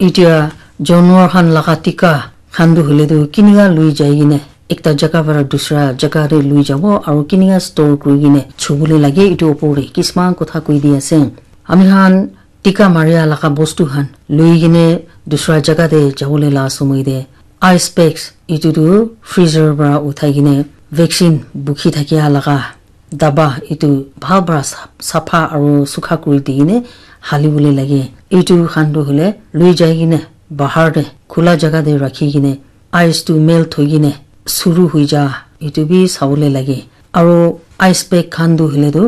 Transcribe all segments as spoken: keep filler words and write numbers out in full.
Etia janwar khan laga tika khan tu hoile tu kinika lui jai kene ekta jaga para dusra jaga te lui jabo aru kinika store kuri kene chubole lage, etu opor te kisman kotha koi di ase. Ami khan tika maria laga bostu khan lui kene dusra jaga te jabole la somoi te ice packs etu tu freezer para uthai kene vaccine bukhi thakia laga daba etu bhal para sa- sapha aru sukha kuri di kene hali bole lage. Etu khan tu hoile lui jai kene bahar te khula jaga te rakhi kene ice tu melt hoi kene suru hoi ja etu bi sabole lage. Aru ice pack khan tu hoile tu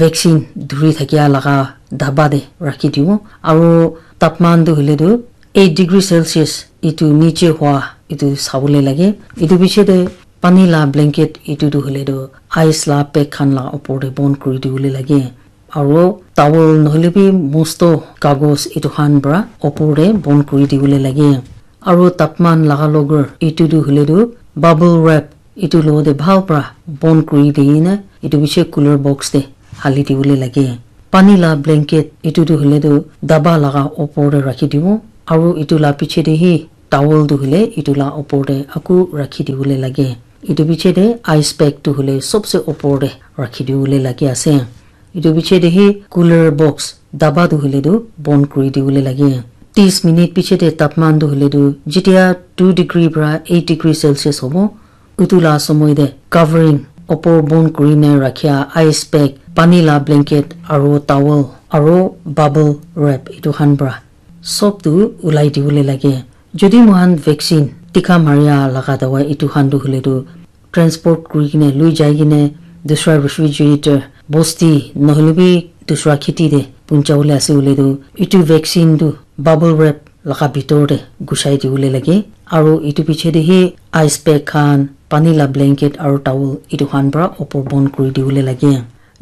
vaccine dhuri thakia laga daba te rakhi dibo. Aru tapman tu hoile tu eight degree Celsius etu niche hua etu sabole lage. Etu piche te pani la blanket etu tu hoile tu ice la pack khan la opor te bon kuri dibole lage. Aru towel nohoile bi mosto kagos etu khan para opor te bon kuri dibole lage. Aru tapman laga logar etu tu hoile tu bubble wrap etu logo te bhal para bon kuri di kene etu piche cooler box te hali dibole lage. Pani la blanket etu tu hoile tu daba laga opor te rakhi dibo aru etu la piche te hi towel tu hoile etu la opor te aku rakhi dibole lage. Etu piche te ice pack tu hoile sobse opor te rakhi dibole lage ase. Etu piche te hi cooler box daba tu hoile tu bon kuri dibole lage. Tis minute piche te tapman tu hoile tu jetia two degree para eight degree Celsius hobo, utu la somoi te covering opor bon kuri ne rakhia ice pack, pani la blanket aru towel aru bubble wrap etu khan para sob tu ulai dibole lage. Jodi moikhan vaccine tika maria laga dawai etu khan tu hoile tu transport kuri kene lui jai kene dusra refrigerator bosti nohoile bi dusra kheti te puncha bole ase hoile tu etu vaccine tu bubble wrap laga bitor te gusai dibole lage aru etu piche te hi ice pack khan pani la blanket aru towel etu khan para opor bon kuri dibole lage.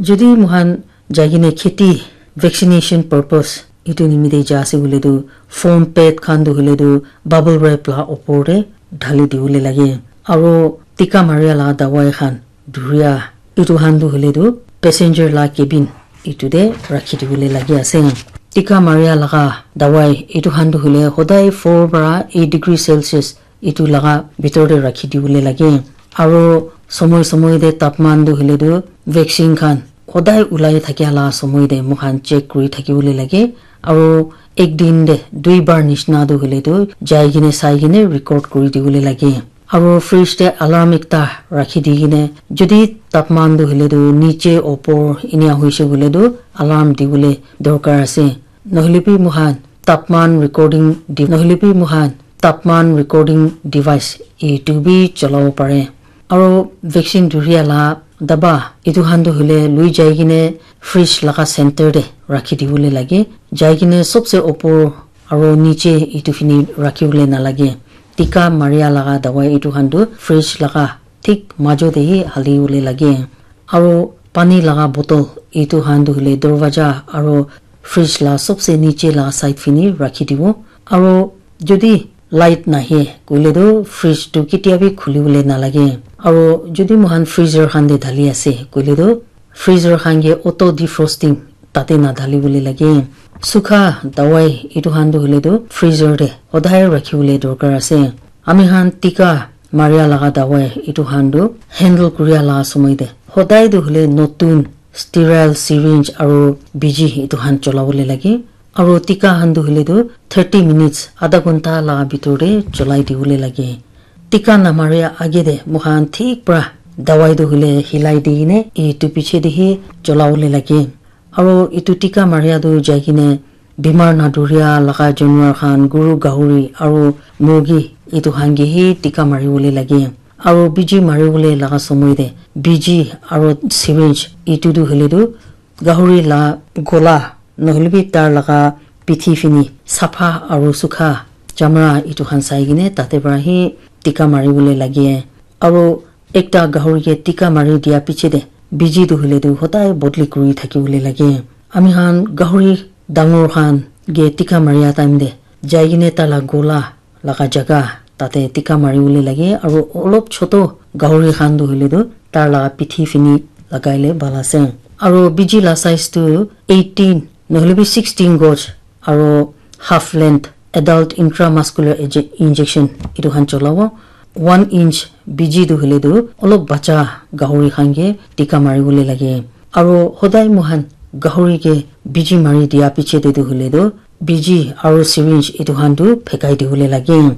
Jodi moikhan jai kene kheti vaccination purpose etu nimite ja ase hoile tu foam pad khan tu hoile tu bubble wrap la opor te dhali dibole lage aru tika maria la dawai khan dhuria etu khan tu hoile tu passenger la cabin etu te rakhi dibole lage ase. Tika maria laga dawai etu khan tu hoile hodai four para eight degree Celsius etu laga bitor te rakhi dibole lage aru somoi somoi te tapman tu hoile tu vaccine khan hodai ulai thakia la somoi te moikhan check kuri thakibole lage aru ek din te dui bar nishina tu hoile tu jai kene sai kene record kuri dibole lage. Aru fridge te alarm ekta rakhi di kene jodi tapman tu hoile tu niche opor enia hoise koile tu alarm dibole dorkar ase. Nohoile bi moikhan tapman recording di nohoile bi moikhan tapman recording device etu bi cholabo pare. Aru vaccine dhuria la daba etu khan tu hoile lui jai kene fridge laga center te rakhi dibole lage. Jai kene sobse opor aru niche etu fini rakhi bole nalage. Tika maria laga dawai etu khan tu fridge laga thik majo te hi hali bole lage. Aru pani laga bottle etu khan tu hoile dorwaja aru fridge la sobse niche la side fini rakhi dibo. Aru jodi light nahe koile tu fridge tu ketia bi khuli bole nalage. Aru jodi moikhan freezer khan te dhali ase koile tu freezer khan ke auto defrosting tate nadhali bole lage. Sukha dawai etu khan tu hoile tu freezer te hodai rakhi bole dorkar ase. Ami khan tika maria laga dawai etu khan tu handle kuria la somoi te hodai tu hoile notun sterile syringe aru biji etu khan chola bole lage. Aru tika khan tu hoile tu thirty minutes adha ghonta la bitor te cholai dibole lage. Tika namaria age te moikhan thik para dawai tu hoile hilai di kene etu piche te hi chola bole lage. Aru etu tika maria tu jai kene bimar nadhuria laga janwar khan guru gahuri aru murgi etu khan ke hi tika mari bole lage. Aru biji mari bole laga somoi te biji aru syringe etu tu hoile tu gahuri la gola nohoile bi tar laga pithi fini sapha aru sukha chamra etu khan sai kene tate para hi tika mari bole lage. Aru ekta gahuri ke tika mari dia piche te biji tu hoile tu hodai bodli kuri thaki bole lage. Ami khan gahuri dangor khan ke tika maria time te jai kene tala gola laga jaga tate tika mari bole lage aru olop choto gahuri khan tu hoile tu tar laga pithi fini lagai le bhal ase. Aru biji la size tu eighteen nohoile bi sixteen gauge aru half length adult intramuscular inje- injection etu khan cholabo. One inch B G tu hoile tu olop bacha gahuri khan ke tika mari bole lage. Aro hodai moikhan gahuri ke B G mari dia piche te tu hoile tu B G aro syringe etu khan tu phekai di bole lage.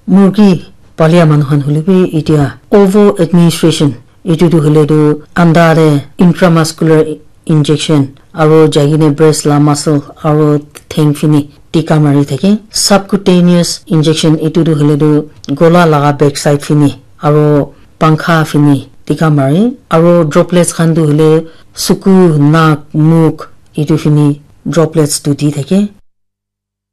Murgi palia manu khan hoile bi etia ovo administration etu tu hoile tu anda te intramuscular injection aro jai kene breast la muscle aro theng fini tika mari thake. Subcutaneous injection etu tu hoile tu gola laga back side fini aro pankha fini tika mari aro droplets khan tu hoile suku, nak, muk etu fini droplets tu di thake.